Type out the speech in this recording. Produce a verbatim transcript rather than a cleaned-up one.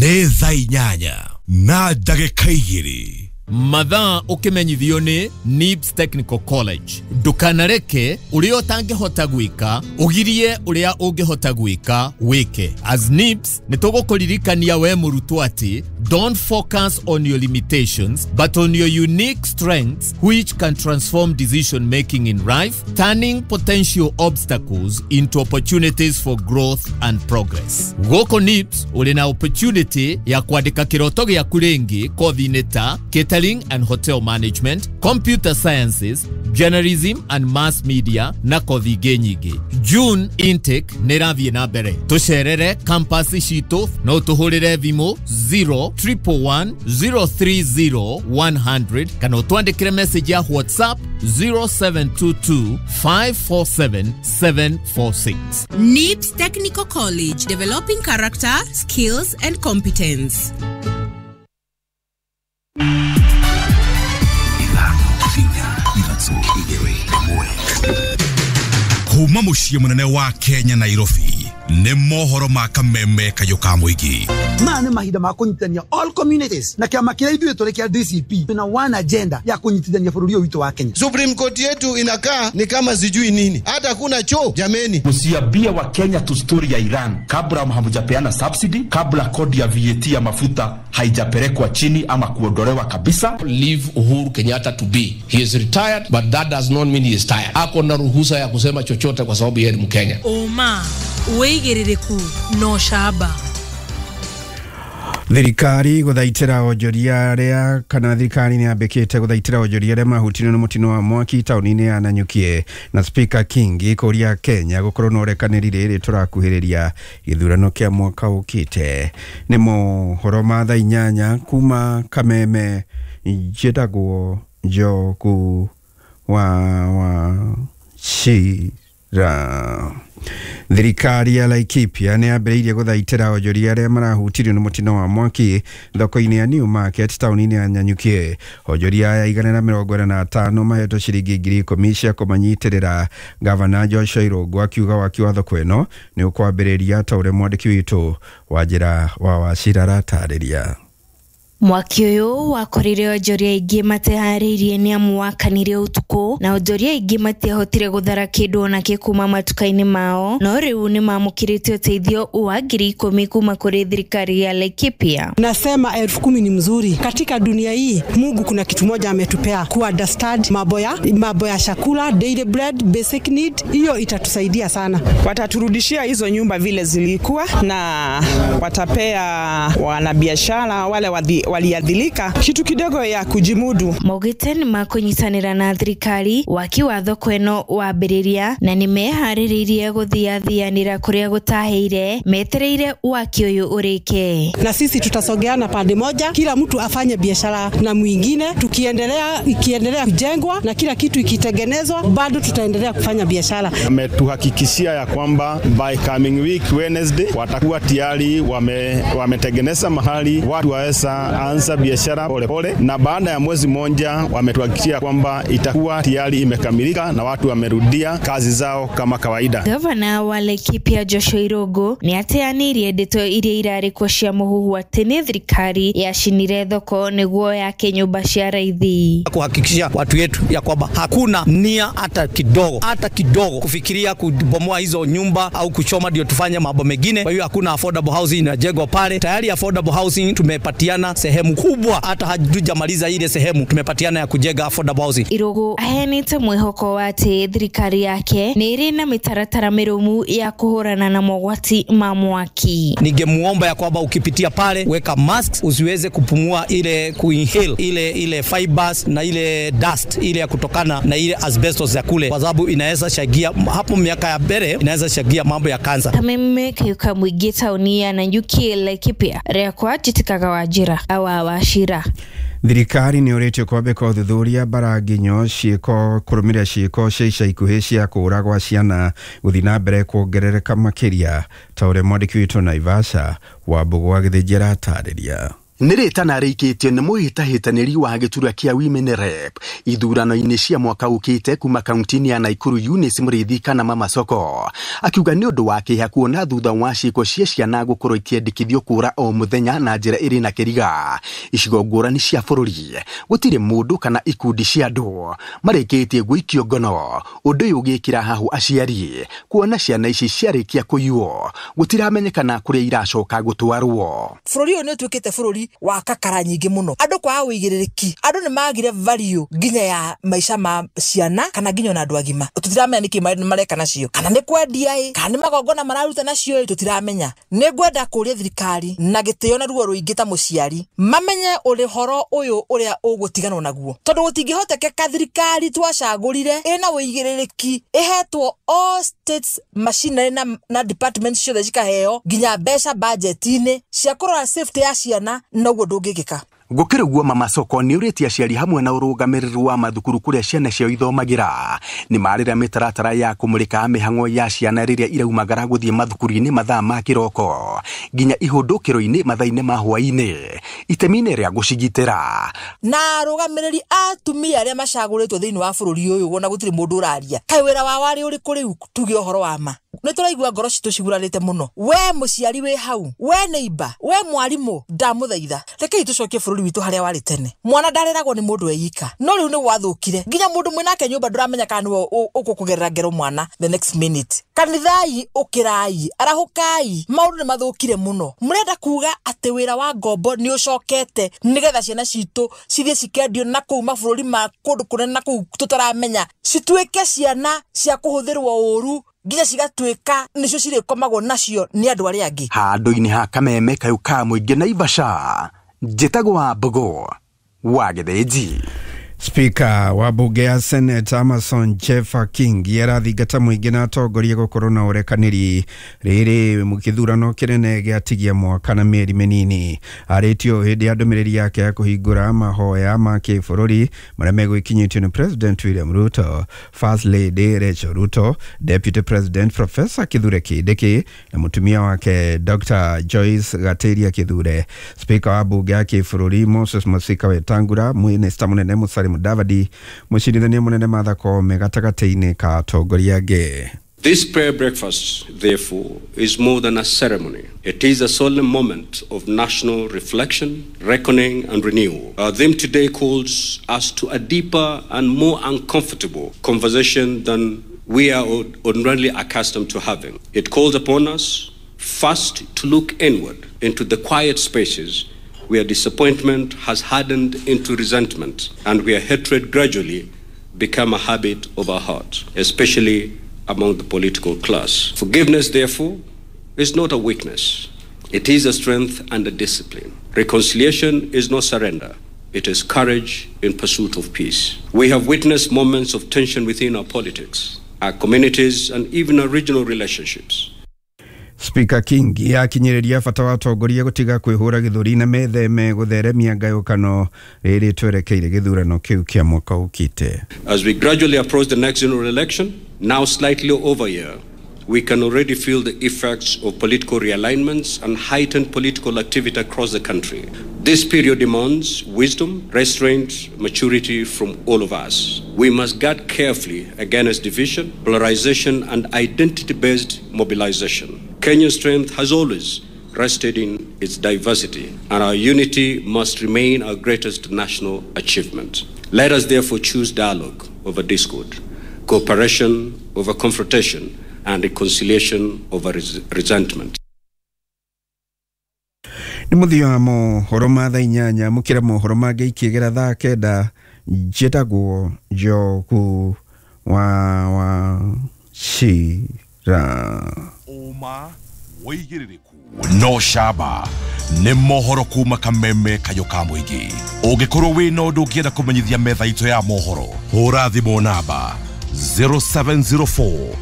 Nĩ thaa inyanya na ndagĩka igĩrĩ. Mathaa ũkĩmenyithio nĩ N I B S Technical College. Ndũkanareke ũrĩa ũtangĩhota gwĩka ũgirie ũrĩa ũngĩhota gwĩka wĩke. As N I B S nĩ tũgũkũririkania we mũrutwo atĩ don't focus on your limitations but on your unique strengths, which can transform decision making in life, turning potential obstacles into opportunities for growth and progress. Gũkũ N I B S ũrĩ na opportunity ya kwandĩka kĩroto gĩaku rĩngĩ kothi-inĩ ta catering and hotel management, computer sciences, journalism and mass media na kothi ingĩ nyingĩ. June intake nĩ ĩrathiĩ na mbere. Tũcerere campus citũ, no tũhũrĩre thimũ zero triple one zero three zero one hundred kana ũtwandĩkĩre message ya WhatsApp zero seven two two five four seven seven four six. N I B S Technical College, developing character, skills, and competence. Ithano, inya, ithatũ, igĩrĩ, ĩmwe. Kuma mũciĩ mũnene wa Kenya, Nairobi, nĩ mohoro ma kameme kayũ ka mũingĩ. Maya nĩ mahinda ma kũnyitithania all communities, na kĩama kĩrĩa ithuĩ tũrĩ kĩa D C P twĩna one agenda ya kũnyitithania bũrũri ũyũ witũ wa Kenya. Supreme Court yetu inakaa ni kama sijui nini, hata kuna choo, jameni. Msiambie wa Kenya tu story ya Iran kabla hamjapeana subsidy, kabla kodi ya V A T ya mafuta haijapelekwa chini ama kuondolewa kabisa. Leave Uhuru Kenyatta to be. He is retired, but that does not mean he is tired. Ako na ruhusa ya kusema chochote kwa sababu yeye ni Mkenya. Ũma, wĩigĩrĩrĩku na ũcamba. Thirikari gũthaitĩra onjoria arĩa kana thirikari nĩ yambĩkĩte gũthaitĩra onjoria arĩa mahutirio nĩ mũtino wa mwaki taũni-inĩ ya Nanyuki, na Speaker Kingi kũria Kenya gũkorwo na ũrekanĩri rĩrĩ tũrakuhĩrĩria gĩthurano kĩa mwaka ũkĩte. Nĩ mohoro ma thaa inyanya kuma Kameme. Njĩtagwo Njogu wa wa Chira. Thirikari ya Laikipia nĩ yambĩrĩirie gũthaitĩra onjoria arĩa marahutirio nĩ mũtino wa mwaki thoko-inĩ ya New Market taũni-inĩ ya Nanyuki. Onjoria aya igana na mĩrongo ĩna na atano mahetwo ciringi ngiri ikũmi cia kũmanyitĩrĩra. Gavana Joshua Irũngũ akiuga waki wa thoko ĩno nĩ ũkwambĩrĩria, ta ũrĩa mwandĩki witũ Wanjĩra wa Wacira aratarĩria. Mwaki ũyũ wakorire onjoria aingĩ mateharĩirie nĩ amu wakanire ũtukũ, na onjoria aingĩ matiahotire gũthara kĩndũ onakĩ kuma matuka-inĩ mao, no rĩu nĩ mamũkĩrĩte ũteithio wa ngiri ikũmi kuma kũrĩ thirikari ya Laikipia. Nasema elfu kumi ni mzuri. Katika dunia hii Mungu kuna kitu moja ametupea, ku understand mambo ya mambo ya chakula, daily bread, basic need, hiyo itatusaidia sana. Wataturudishia hizo nyumba vile zilikuwa na watapea wanabiashara wale waliadhilika kitu kidogo ya kujimudu. Maugĩte nĩ makũnyitanĩra na thirikari waki wa thoko ĩno wambĩrĩria, na nĩ meharĩrĩirie gũthiathianĩra kũrĩa gũtahĩire metereire waki ũyũ ũrĩke. Na sisi tutasogeana pande moja, kila mtu afanye biashara na mwingine, tukiendelea ikiendelea kujengwa na kila kitu ikitengenezwa, bado tutaendelea kufanya biashara. Ametuhakikishia ya kwamba by coming week Wednesday watakuwa tayari wame, wametengeneza mahali watu waweza anza biashara pole pole, na baada ya mwezi mmoja wametuhakikishia kwamba itakuwa tayari imekamilika na watu wamerudia kazi zao kama kawaida. Gavana wa Laikipia Joshua Irũngũ nĩ ateanĩirie ndeto iria irarĩ kuo cia mũhuhu atĩ nĩ thirikari yacinire thoko nĩguo yake nyũmba cia raithi. Kuhakikishia watu wetu ya kwamba hakuna nia hata kidogo, hata kidogo kufikiria kubomoa hizo nyumba au kuchoma ndio tufanye mambo mengine. Kwa hiyo hakuna affordable housing inajengwa pale. Tayari affordable housing tumepatiana sehemu kubwa, hata hatujamaliza ile sehemu tumepatiana ya kujenga affordable housing. Irũngũ aheanĩte mwĩhoko wa atĩ thirikari yake nĩ ĩrĩ na mĩtaratara mĩrũmu ya kũhũrana na mogwati ma mwaki. Ningemuomba ya kwamba ukipitia pale weka masks, usiweze kupumua ile kuinhale ile ile fibers na ile dust ile ya kutokana na ile asbestos ya kule, kwa sababu inaweza chagia hapo miaka ya mbele, inaweza chagia mambo ya kansa. Kameme kayuka mũingĩ taũni ya Nanyuki, Laikipia, rĩakwa njĩtĩkaga Wanjĩra awa Wachira. Thirikari nĩ ũrĩtio kwambĩka ũthuthuria bara nginyo ciĩko kũrũmĩrĩra ciĩko cia ica ikuhĩ cia kũũragwa ciana gũthiĩ na mbere kuongerereka makĩria, ta ũrĩa mwandĩki witũ Naivasha Wambũgũ wa Gĩthĩnji aratarĩria. Nĩ rĩtana rĩikĩtio nĩ mũhĩtahĩtanĩri wa gĩturwa kĩa Women Rep ithurano-inĩ cia mwaka ũkĩte kuma kaunti-inĩ ya Nakuru Eunice Mũrĩithi kana Mama Soko, akiuga nĩ ũndũ wa kĩeha kuona thutha wa ciĩko cia ciana gũkorwo ikĩendekithio kũra o mũthenya na njĩra ĩrĩ na kĩriga icigo ngũrani cia bũrũri, gũtirĩ mũndũ kana ikundi cia andũ marĩkĩtie gũikio ngono. Ũndũ ũyũ ũgĩkĩra hahũ aciari kuona ciana ici ciarĩkia kũiywo gũtiramenyekana kũrĩa iracoka gũtwarwo. Bũrũri ũyũ nĩ ũtuĩkĩte bũrũri wa kakara nyingĩ mũno, andũ kwaga ũigĩrĩrĩki, andũ nĩ magire value nginya ya maica ma ciana kana nginya ona andũ agima. Tũtiramenya nĩkĩ mareka nacio, kana nĩ kwendia ĩ, kana nĩ magongona mararuta nacio ĩ, tũtiramenya. Nĩ ngwenda kũria thirikari na gĩtĩo na ruo rũingĩ ta mũciari mamenye ũhoro ũyũ ũrĩa ũgũtiganwo naguo, tondũ gũtingĩhotekeka thirikari twacagũrire ĩna ũigĩrĩrĩki ĩhetwo all states machinery na, na departments ciothe cikaheo nginya mbeca budget-inĩ cia kũrora safety ya ciana, noguo ndũngĩkĩka. Gũkĩrĩ ũguo Mama Soko nĩ ũrĩtie aciari hamwe na ũrũgamĩrĩri wa mathukuru kũrĩa ciana ciao ithomagĩra nĩ marĩra mĩtaratara ya kũmũrĩka mĩhang'o ya ciana rĩrĩa iraumagara gũthiĩ mathukuru-inĩ mathaa ma kĩroko nginya ihũndũkĩro-inĩ mathaa-inĩ ma hwaĩ-inĩ itemi-inĩ rĩa gũcigitĩra. Na arũgamĩrĩri a atumia arĩa macagũrĩtwo thĩinĩ wa bũrũri ũyũ ona gũtirĩ mũndũ ũraria, kaĩ wĩra wao warĩ ũrĩkũ rĩu? Tuge ũhoro wa ma, nĩ tũraigua ngoro citũ cigurarĩte mũno. We mũciari wĩ hau, we neighbor, we mwarimũ, ndamũthaitha rekei tũcokie bũrũri witũ harĩa warĩ tene. Mwana ndareragwo nĩ mũndũ eika, no rĩu nĩ gwathũkire nginya mũndũ mwĩnake nyũmba ndũramenya kana nĩwe ũkũkũgerera ngero mwana the next minute. Kanithai ũkĩrai, arahũkai, maũndũ nĩ mathũkire mũno. Mũrenda kuga atĩ wĩra wa ngombo nĩ ũcokete nĩgetha ciana citũ cithiĩ cikendio na kũu mabũrũri ma kũndũ kũnene na kũu tũtaramenya, cituĩke ciana cia kũhũthĩrwo ũru nginya cigatuĩka nĩcio cirĩkomagwo nacio nĩ andũ arĩa angĩ. Handũ-inĩ ha kameme kayũ ka mũingĩ Naivasha, njĩtagwo wa Mbogo wa Gĩthĩnji. Speaker wa bunge ya Senate Amason Jeffa Kingi arathingata mũingĩ na atongoria gũkorwo na ũrekanĩri rĩrĩ gĩthurano kĩnene gĩatigia mwaka na mĩeri mĩnini. Arĩtio hĩndĩ ya ndũmĩrĩri yake ya kũhingũra mahoya ma kĩbũrũri marĩa megũikinyĩtio nĩ President William Ruto, First Lady Rachel Ruto, Deputy President Professor Kithure Kindiki na mũtumia wake Doctor Joyce Gatiria Kithure. Speaker wa bunge ya kĩbũrũri Moses Masika Wetangula, Minista mũnene Musalia Mudavadi, mũcirithania mũnene Martha Koome gatagatĩ-inĩ ka atongoria angĩ. This prayer breakfast, therefore, is more than a ceremony. It is a solemn moment of national reflection, reckoning, and renewal. Our theme today calls us to a deeper and more uncomfortable conversation than we are ordinarily accustomed to having. It calls upon us first to look inward into the quiet spaces where disappointment has hardened into resentment and where hatred gradually become a habit of our heart, especially among the political class. Forgiveness, therefore, is not a weakness. It is a strength and a discipline. Reconciliation is not surrender. It is courage in pursuit of peace. We have witnessed moments of tension within our politics, our communities, and even our regional relationships. Speaker Kingi akinyĩrĩria bata wa atongoria gũtiga kwĩhũra gĩthũri na metheme gũtheremia ngayũkano rĩrĩ twerekeire gĩthurano kĩu kĩa mwaka ũkĩte. As we gradually approach the next general election, now slightly over a year, we can already feel the effects of political realignments and heightened political activity across the country. This period demands wisdom, restraint, maturity from all of us. We must guard carefully against division, polarization, and identity-based mobilization. Kenya's strength has always rested in its diversity, and our unity must remain our greatest national achievement. Let us therefore choose dialogue over discord, cooperation over confrontation, and reconciliation over res resentment. Nĩ mũthia wa mohoro ma thaa inyanya mũkĩra mohoro mangĩ ikĩgera thaa kenda. Njĩtagwo Njogu wa Wachira. Ũma wĩigĩrĩrĩku no camba nĩ mohoro kuma kameme kayũ ka mũingĩ. Ũngĩkorwo wĩna ũndũ ũngĩenda kũmenyithia metha itũ ya mohoro, hũra thimũ namba zero seven zero four